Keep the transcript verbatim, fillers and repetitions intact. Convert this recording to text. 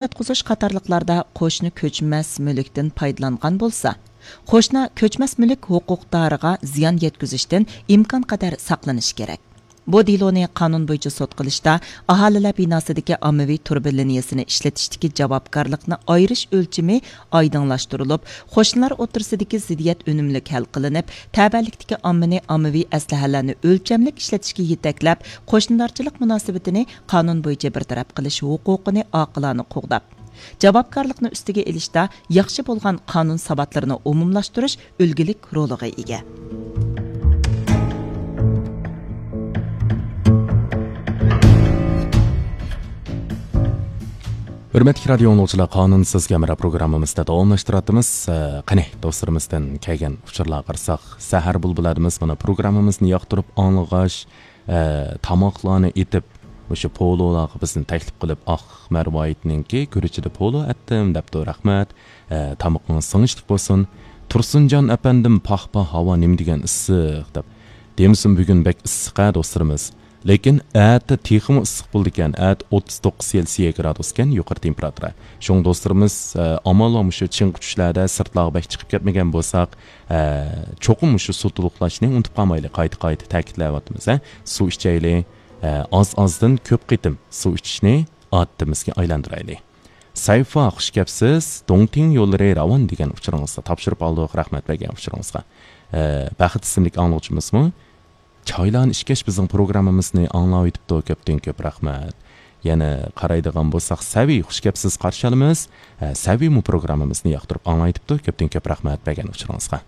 ياتقۇزۇش قاتارلىقلاردا قوشنا كۆچمەس مۈلۈكتىن پايدىلانغان بولسا، قوشنا كۆچمەس مۈلۈك ھوقۇقدارىغا زىيان يەتكۈزۈشتىن ئىمكانقەدەر ساقلىنىشى كېرەك. بۇ دېلونى قانۇن بويىچە سوت قىلىشتا ئاھالىلەر بىناسىدىكى ئاممىۋى تۇرۇبا لىنىيەسىنى ئىشلىتىشتىكى جاۋابكارلىقنى ئايرىش ئۆلچىمى ئايدىڭلاشتۇرۇلۇپ، قوشنىلار ئوتتۇرىسىدىكى زىددىيەت ئۈنۈملۈك ھەل قىلىنىپ، تەۋەلىكتىكى ئاممىنى ئاممىۋى ئەسلىھەلەرنى ئۆلچەملىك ئىشلىتىشكە يېتەكلەپ، قوشنىدارچىلىق مۇناسىۋىتىنى قانۇن بويىچە بىر تەرەپ قىلىش ھوقۇقىنى ئاقىلانە قوغداپ، جاۋابكارلىقنى ئۈستىگە ئېلىشتا ياخشى بولغان قانۇن ساۋاتلىرىنى ئومۇملاشتۇرۇش ئۈلگىلىك رولىغا ئىگە. ھۆرمەتلىك رادىيو ئاڭلىغۇچىلار، قانۇنسىز گەمرا پروگراممىمىزدا داۋاملاشتۇراتتىمىز. ئە، قېنى، دوستلىرىمىزدىن كەلگەن ئۇچۇرلارغا قارىساق، سەھەر بۇلبۇللاردا مانا پروگراممىمىزنى ياقتۇرۇپ ئاڭلىغاچ، ئە، تاماقلارنى ئېتىپ، مۇشۇ پولولارغا بىزنى تەكلىپ قىلىپ، ئاق مەرۋايىتنىڭكى گۈرۈچىدە پولو ئەتتىم، دەپتۇ. رەھمەت. ئە، تامىقىڭىز سىڭىشلىق بولسۇن. تۇرسۇنجان ئەپەندىم، پاھ پاھ، ھاۋا نېمە دېگەن ئىسسىق، دەپ. دېمىسۇن، بۈگۈن بەك ئىسسىق ھە، دوستلىرىمىز. لېكىن ئەتە تېخىمۇ ئىسسىق بولىدىكەن. ئەتە ئوتتۇز توققۇز سېلسىيە گرادۇسكەن يۇقىرى تېمپېراتۇرا. شۇڭا دوستلىرىمىز، ئە، ئامال بار مۇشۇ چىڭ چۈشلەردە سىرتلارغا بەك چىقىپ كەتمىگەن بولساق، ئە، چوقۇم مۇشۇ سۇ تولۇقلاشنى ئۇنتۇپ قالمايلى. قايتا-قايتا تەكىتلەۋاتىمىز، ھە. سۇ ئىچەيلى. ئە، ئاز-ئازدىن كۆپ قېتىم سۇ ئىچىشنى ئادىتىمىزگە ئايلاندۇرايلى. سەيفا، خۇش كەپسىز. دوڭتىڭ يوللىرى راۋان دېگەن ئۇچۇرىڭىزغا تاپشۇرۇپ ئالدۇق. رەھمەت بەرگەن ئۇچۇرىڭىزغا. ئە، بەخت ئىسىملىك ئاڭلىغۇچىمىزمۇ، چايلارنى ئىچكەچ بىزنىڭ پروگراممىمىزنى ئاڭلاۋېتىپتۇ. كۆپتىن كۆپ رەھمەت. يەنە قارايدىغان بولساق، سەۋى، خۇش كەپسىز، قارشى ئالىمىز. ئە، سەۋىمۇ پروگراممىمىزنى ياقتۇرۇپ ئاڭلاۋېتىپتۇ. كۆپتىن كۆپ رەھمەت بەرگەن ئۇچۇرىڭىزغا.